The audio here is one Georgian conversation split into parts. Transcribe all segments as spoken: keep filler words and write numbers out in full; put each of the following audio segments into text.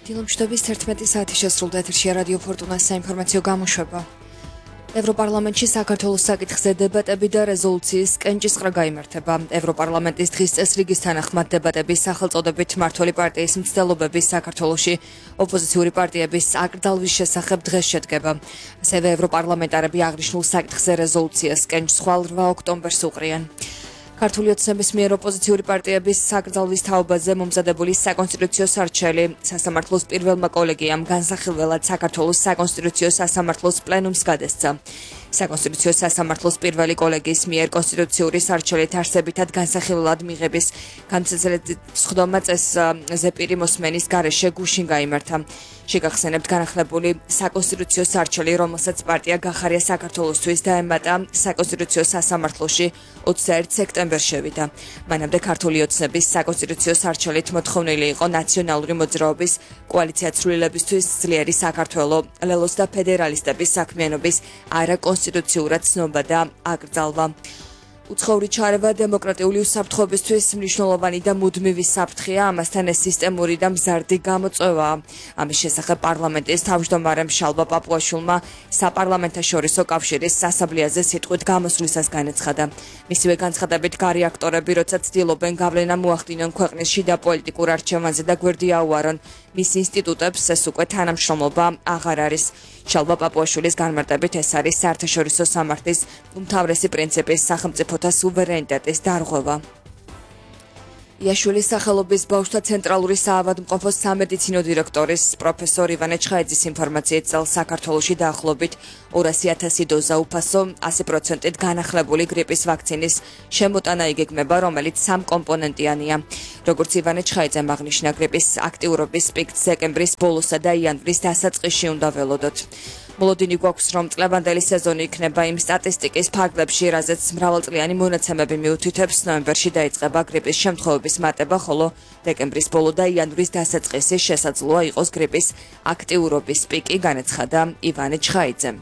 დილომშვიდობის თერთმეტი საათი შესრულდა ეთერშია რადიო ფორტუნას საინფორმაციო გამოშვება. ევროპარლამენტში საქართველოს საკითხზე დებატები და რეზოლუციის კენჭისყრა გაიმართება. ევროპარლამენტის დღის წესრიგის თანახმად დებატების სახელწოდებით მმართველი პარტიის მცდელობების საქართველოში ოპოზიციური პარტიების აკრძალვის შესახებ დღეს შედგება. ასევე ევროპარლამენტარები აღნიშნულ საკითხზე რეზოლუციას კენჭს ხვალ რვა ოქტომბერს უყრიან. ქართული ოცნების მიერ ოპოზიციური პარტიების საკრძალვის თაობაზე მომზადებული საკონსტიტუციო სარჩელი სასამართლოს პირველმა კოლეგიამ განსახილველად საქართველოს საკონსტიტუციო სასამართლოს პლენუმს გადასცა. საკონსტიტუციო სასამართლოს პირველი კოლეგიის მიერ კონსტიტუციური სარჩელით არსებითად განსახილველად მიღების განსაცდელი სხდომა წესზე პირი მოსმენის გარეშე გუშინ გაიმართა. შეგახსენებთ განახლებული საკონსტიტუციო სარჩელი, რომელსაც პარტია გახარია საქართველოსთვის დაემატა საკონსტიტუციო სასამართლოში ოცდაერთი სექტემბერს შევიდა. მანამდე ქართული ოცნების საკონსტიტუციო სარჩელით მოთხოვნილი იყო ნაციონალური მოძრაობის კოალიცია ცვლილებისთვის ძლიერი საქართველო, ლელოს და ფედერალისტების საქმიანობის არაკონსტიტუციურად ცნობა და აკრძალვა. უცხოური ჩარევა დემოკრატიული უსაფრთხოებისთვის მნიშვნელოვანი და მუდმივი საფრთხეა, ამასთან ეს სისტემური და მზარდი გამოწვევაა. ამის შესახებ პარლამენტის თავმჯდომარემ შალვა პაპუაშვილმა საპარლამენტაშორისო კავშირის სასაბლიაზე სიტყვით გამოსვლისას განაცხადა. მისივე განცხადებით გარი აქტორები, როცა ცდილობენ გავლენა მოახდინონ ქვეყნის შიდა პოლიტიკურ არჩევანზე და გვერდი აუარონ მის ინსტიტუტებს, ეს უკვე თანამშრომლობა აღარ არის. შალვა პაპუაშვილის განმარტებით ეს არის საერთაშორისო სამართლის უმთავრესი პრინციპის სახელმწიფოთა სუვერენიტეტის დარღვევა. იაშვილის სახელობის ბავშვთა ცენტრალური საავადმყოფოს სამედიცინო დირექტორის პროფესორ ივანე ჩხაიძის ინფორმაციით წელს საქართველოში დაახლოებით ორასი ათასი დოზა უფასო ასი პროცენტით განახლებული გრიპის ვაქცინის შემოტანა იგეგმება, რომელიც სამკომპონენტიანია. როგორც ივანე ჩხაიძემ აღნიშნა, გრიპის აქტიურობის პიკს დეკემბრის ბოლოსა და იანვრის დასაწყისში უნდა ველოდოთ. მოლოდინი გვაქვს, რომ წლევანდელი სეზონი იქნება იმ სტატისტიკის ფარგლებში, რაზეც მრავალწლიანი მონაცემები მიუთითებს. ნოემბერში დაიწყება გრიპის შემთხვევების მატება, ხოლო დეკემბრის ბოლო და იანვრის დასაწყისი შესაძლოა იყოს გრიპის აქტიურობის პიკი, განაცხადა ივანე ჩხაიძემ.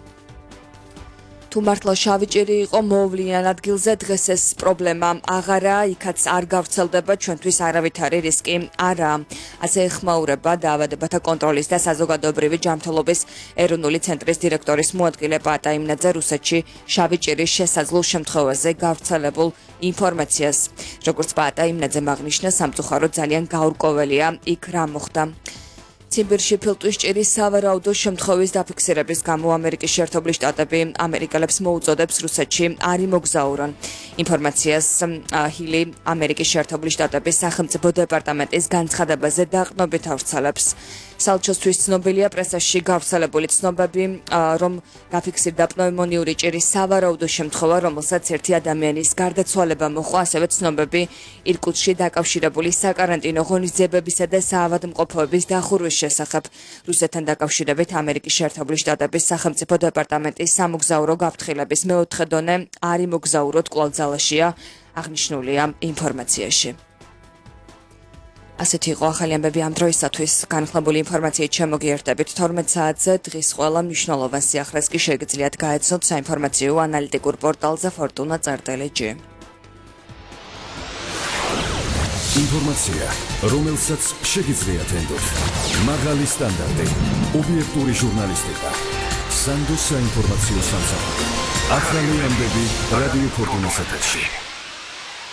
თუ მართლა შავი ჭირი იყო მოუვლიან ადგილზე, დღეს ეს პრობლემა აღარაა, იქაც არ გავრცელდება, ჩვენთვის არავითარი რისკი არაა. ასე ეხმაურება დაავადებათა კონტროლის და საზოგადოებრივი ჯანმრთელობის ეროვნული ცენტრის დირექტორის მოადგილე პაატა იმნაძე რუსეთში შავი ჭირის შესაძლო შემთხვევაზე გავრცელებულ ინფორმაციას. როგორც პაატა იმნაძემ აღნიშნა, სამწუხაროდ ძალიან გაურკვეველია იქ რა მოხდა. ციმბირში ფილტვის ჭირის სავარაუდო შემთხვევის დაფიქსირების გამო ამერიკის შეერთებული შტატები ამერიკელებს მოუწოდებს რუსეთში არ იმოგზაურონ. ინფორმაციას ჰილი ამერიკის შეერთებული შტატების სახელმწიფო დეპარტამენტის განცხადებაზე დაყრდნობით ავრცელებს. სალჩოსთვის ცნობილია პრესაში გავრცელებული ცნობები, რომ დაფიქსირდა პნევმონიური ჭირის სავარაუდო შემთხვევა, რომელსაც ერთი ადამიანის გარდაცვალება მოჰყვა, ასევე ცნობები ირკუტსკში დაკავშირებული საკარანტინო ღონისძიებებისა და საავადმყოფოების დახურვის შესახებ. რუსეთთან დაკავშირებით ამერიკის შეერთებული შტატების სახელმწიფო დეპარტამენტის სამოგზაურო გაფრთხილების მეოთხე დონე არ იმოგზაუროთ კვლავ ძალაშია, აღნიშნულია ინფორმაციაში. ასეთი იყო ახალი ამბები ამ დროისათვის. განხლებული ინფორმაციით შემოგიერთებით თორმეტ საათზე. დღის ყველა მნიშვნელოვან სიახლეს კი შეგიძლიათ გაეცნოთ საინფორმაციო ანალიტიკურ პორტალზე ფორტუნა წერტილი ჯი. ინფორმაცია, რომელსაც შეგიძლიათ ენდოთ. მაღალი სტანდარტი, ობიექტური ჟურნალისტიკა. სანდო საინფორმაციო სამსახური. ახალი ამბები რადიო ფორტუნას ეთერში.